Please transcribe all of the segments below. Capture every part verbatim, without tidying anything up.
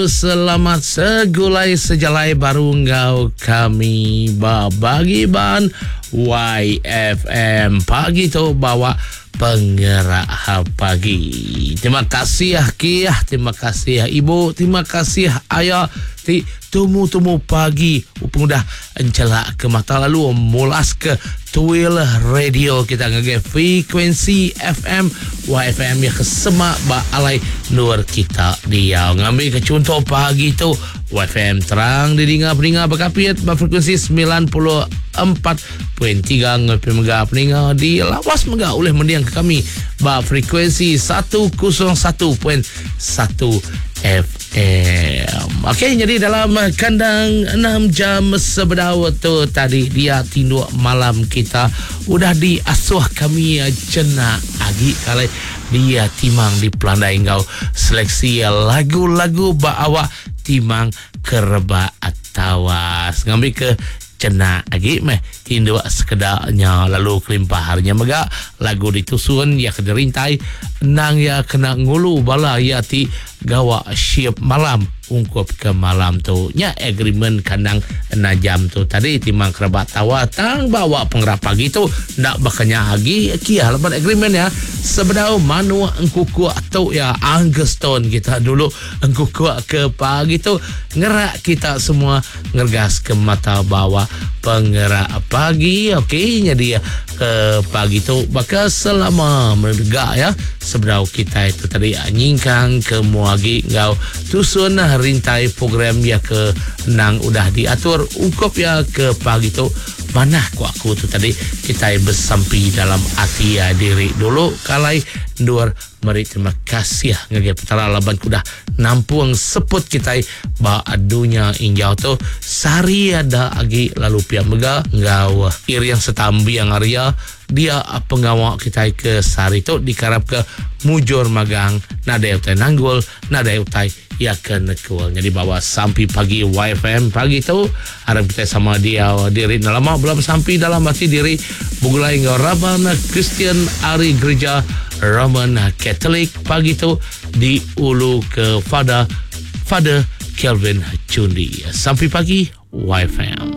Selamat segulai sejalai baru enggau kami ba bagi ban Y F M. Pagi tu bawa pengerak pagi. Terima kasih kiah, terima kasih ibu, terima kasih ayah ti tumu-tumu pagi pengudah encelak ke mata lalu mulas ke tuil radio kita ngagai frekuensi F M Y F M yang kesemak ba alai nur kita dia. Ngambil ke contoh pagi tu Y F M terang didinga peninga berkapit ba frekuensi sembilan puluh empat titik tiga ngepi mega peninga di lawas mega oleh mendiang ke kami ba frekuensi seratus satu titik satu F M. Okey, jadi dalam kandang enam jam sebedau tu tadi dia tinduk malam kita udah diasuh kami jenak agi kali dia timang di pelandai ngau seleksi lagu-lagu ba awak timang kerebak tawas. Ngambil ke jenak agi meh tinduk sekedaknya lalu kelimpah harinya mega lagu ditusun ya kena rintai nang ya kena ngulu bala ya ti gawa shift malam ungkup ke malam tu nya agreement kandang enam jam tu tadi timang kerabat tawa tang bawa pengerap pagi tu nak bakanya agi kia leban agreement ya sebedau manu engkukuk tu ya Anguston kita dulu engkukuk ke pagi tu ngerak kita semua ngergas ke mata bawa pengerak pagi. Okey, jadi ke pagi tu bakal selama menegak ya sebedau kita itu tadi nyingkang ke muagi ngau tusun rintai program ya ke nang udah diatur ungkup ya ke pagi tu manah ku aku tu tadi kita bersampi dalam hati ya diri dulu kalai ndur meri terima kasih ngagai petara laban kudah nampung seput kita ba dunya injau tu sari ada agi lalu pia mega ngau iriang setambiang area dia pengawak kita ke sari tu dikarap ke mujur magang nadai utai nanggul nadai utai ya ke nekul. Jadi bawa sampi pagi Y F M pagi tu harap kita sama dia diri lama belum sampi dalam hati diri bugulai ngau Raban Kristian ari gereja Roman Catholic pagi tu di ulu ke Father Father Kelvin Chundi. Sampai pagi Y F M.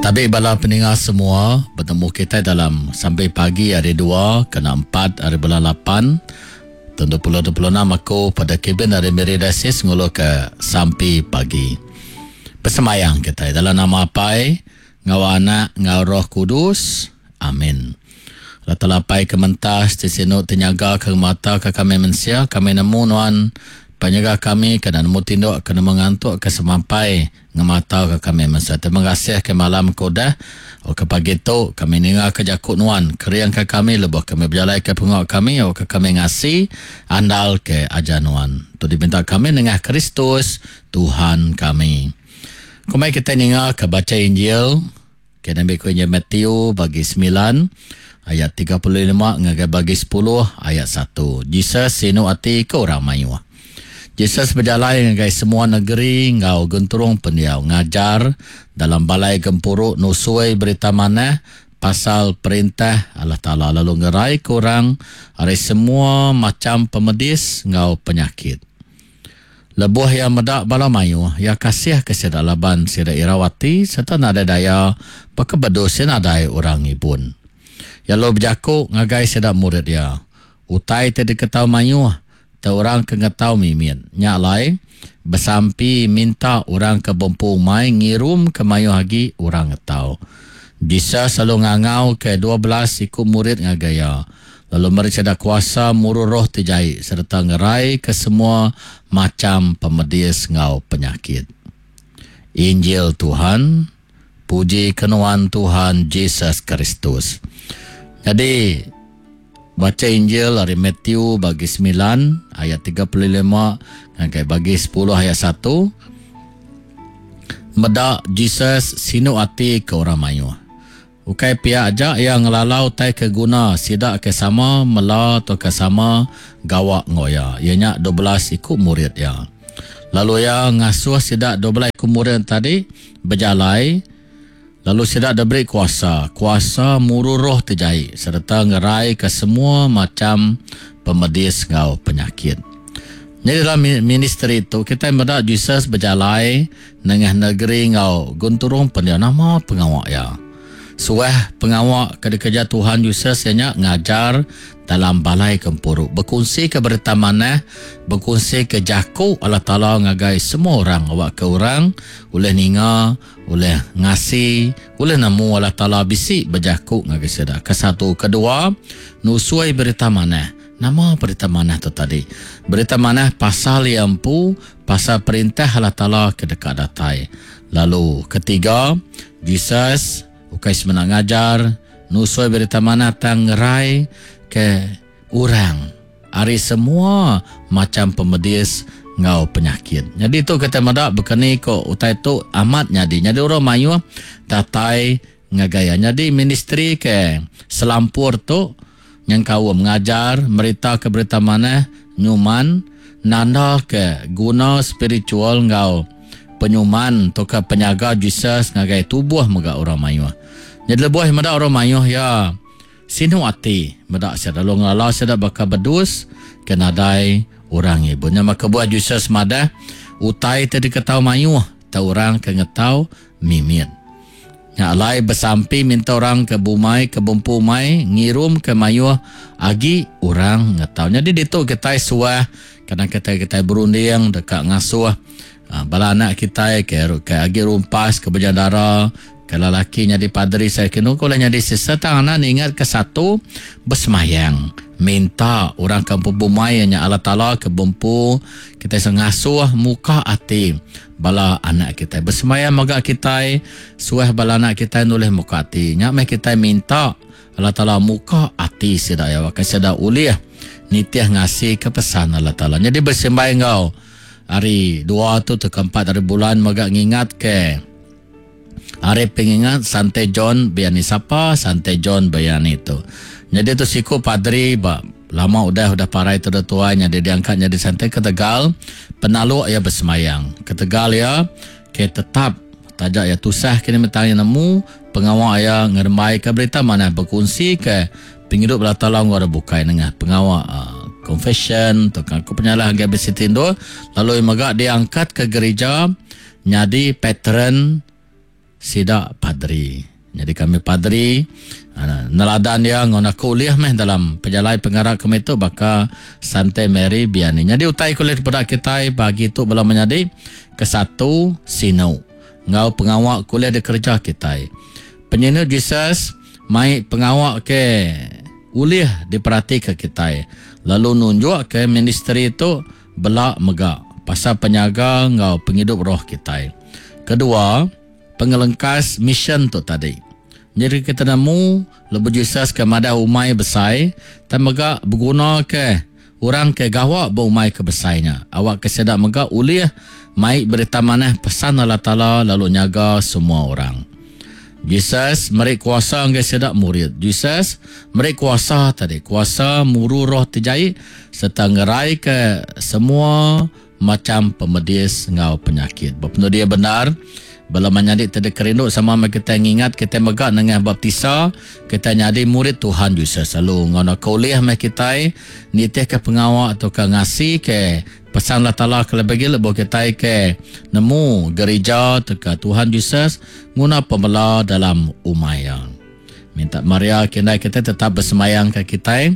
Tabi bala pendengar semua, bertemu kita dalam sampai pagi hari dua kena empat hari bulan lapan tahun dua ribu dua puluh enam aku pada kabin dari Miri Dasis ngulu ke sampai pagi. Bersemayang kita dalam nama Apai, ngau anak, ngau Roh Kudus. Amin. Allah Taala Apai kementas ti sinu tenyaga ke mata ke kami mensia, kami nemu nuan penyaga kami kena nemu tinduk kena mengantuk ke semampai ngemata ke kami mensia. Terima kasih ke malam kodah o ke pagi tu kami ninga ke jakuk nuan keriang ke kami lebuh kami berjalai ke pengok kami o ke kami ngasi andal ke ajar nuan. Tu diminta kami nengah Kristus Tuhan kami. Kumai kita ninga ke baca Injil ke Nabi ku Injil Matthew bagi sembilan ayat tiga puluh lima ngagai bagi sepuluh ayat satu. Jesus sinu ati ke orang mayuh. Jesus berjalan ngagai semua negeri ngau genturung pendiau ngajar dalam balai gempuruk nusui berita manah pasal perintah Allah Taala lalu ngerai ke orang ari semua macam pemedis ngau penyakit. Lebuh yang medak bala mayuh, ya kasih ke sida laban sida irawati serta nadai daya pekebedus nadai orang ibun. Ya lo berjakuk ngagai sida murid dia. Utai te diketau mayuh, te orang ke ngetau mimit. Nyak lai, besampi minta orang ke bempu mai ngirum ke mayuh agi orang ngetau. Jesus selalu ngangau ke dua belas iku murid ngagai ya. Lalu mereka ada kuasa muru roh tijai serta ngerai ke semua macam pemedis ngau penyakit. Injil Tuhan, puji kenuan Tuhan Jesus Kristus. Jadi, baca Injil dari Matthew bagi sembilan ayat tiga puluh lima sampai bagi sepuluh ayat satu. Medak Jesus sinu ati ke orang mayuh. Ukai pihak aja yang ngelalau tai ke guna sidak ke sama mela atau ke sama gawak ngoya. Ianya dua belas ikut murid ya. Lalu ya ngasuh sidak dua belas ikut murid tadi berjalai. Lalu sidak diberi kuasa, kuasa muru roh terjahit serta ngerai ke semua macam pemedis ngau penyakit. Jadi dalam ministry tu kita meda Jesus berjalai nengah negeri ngau gunturung pendiau nama pengawak ya. Suah pengawak ke dikerja Tuhan Jesus ianya ngajar dalam balai kempuru, berkongsi ke berita manah, berkongsi ke jaku Allah Taala ngagai semua orang, awak ke orang oleh ninga, oleh ngasi, oleh nemu Allah Taala bisi berjaku ngagai sida. Kesatu, kedua, nusuai berita manah. Nama berita manah tu tadi? Berita manah pasal yang empu, pasal perintah Allah Taala ke dekat datai. Lalu ketiga, Jesus ukai semenang ngajar, nusui berita manah tang ngerai ke orang ari semua macam pemedis ngau penyakit. Jadi tu kita medak bekeni ko utai tu amat nyadi. Jadi orang mayuh datai ngagaya. Jadi ministry ke selampur tu yang kau mengajar, merita ke berita manah, nyuman, nanda ke guna spiritual ngau penyuman atau ke penyaga Jesus ngagai tubuh mega orang mayuh. Jadi lebuh medak orang mayuh ya sinu ati medak sada lalu ngala sada baka bedus ke nadai orang ibu. Nya maka buah Jesus madah utai te diketau mayuh ta orang ke ngetau mimit. Nya alai bersampi minta orang ke bumai ke bumpu mai ngirum ke mayuh agi orang ngetau. Jadi ditu kita suah kadang kita kita berunding dekat ngasuh bala anak kita ke ke agi rumpas ke bejandara kalau laki nyadi padri saya kena kalau nyadi sesetang anak ingat ke satu bersemayang minta orang kampung bumai nya Allah Taala ke bumpu kita sengasuh muka ati bala anak kita bersemayang maga kita suah bala anak kita nulih muka ati nya meh kita minta Allah Taala muka ati sida ya wakai sida ulih nitih ngasi ke pesan Allah Taala. Jadi bersembahyang ngau hari dua tu ke empat hari bulan maga ngingat ke hari pengingat Sante John Vianney. Siapa Sante John Vianney tu? Jadi tu siku padri ba lama udah udah parai tu tua jadi diangkat jadi sante ketegal penaluk ya bersemayang. Ketegal ya ke tetap tajak ya tusah kini mentang nemu pengawak ya ngerembai ke berita mana berkongsi ke penghidup Allah Taala ngau bukai nengah pengawak uh, confession tukang aku penyalah hingga bersitindo lalu mega diangkat ke gereja jadi patron sida padri. Jadi kami padri neladan dia ngona kuliah meh dalam pejalai pengarah kami tu baka Sante Mary Vianney. Jadi utai kuliah pada kita bagi tu bala menyadi ke satu sinu ngau pengawak kuliah di kerja kita. Penyinu Jesus mai pengawak ke ulih diperhati ke kita. Lalu nunjuk ke ministry tu belak mega pasal penyaga ngau penghidup roh kita. Kedua, pengelengkas mission tu tadi. Jadi kita nemu lebuh Jesus ke madah umai besai, dan mega berguna ke orang ke gawak berumai ke besainya. Awak ke sedak mega ulih mai berita manah pesan Allah Taala lalu nyaga semua orang. Jesus meri kuasa anggai sedak murid. Jesus meri kuasa tadi, kuasa muru roh terjai serta ngerai ke semua macam pemedis ngau penyakit. Berpenuh dia benar. Bala menyadik tadi kerinduk sama kita ngingat kita megak dengan baptisa kita nyadi murid Tuhan Jesus. Lalu ngono kuliah meh kita nitih ke pengawak atau ke ngasi ke pesan Allah Taala ke lebih lebuh kita ke nemu gereja teka Tuhan Jesus nguna pemela dalam umaya. Minta Maria kena kita tetap bersemayang ke kita.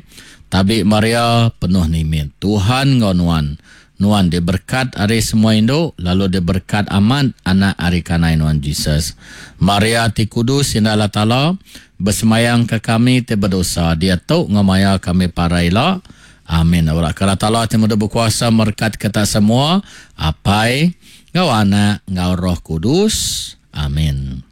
Tabi Maria penuh nimit Tuhan ngau nuan. Nuan diberkat hari semua induk, lalu diberkat amat anak hari kanai Nuan Jesus. Maria ti kudus indah Allah Taala, bersemayang ke kami ti berdosa. Dia tu ngamaya kami paraila. Amin. Allah Taala ti muda berkuasa merkat kita semua. Apai, ngau anak, ngau Roh Kudus. Amin.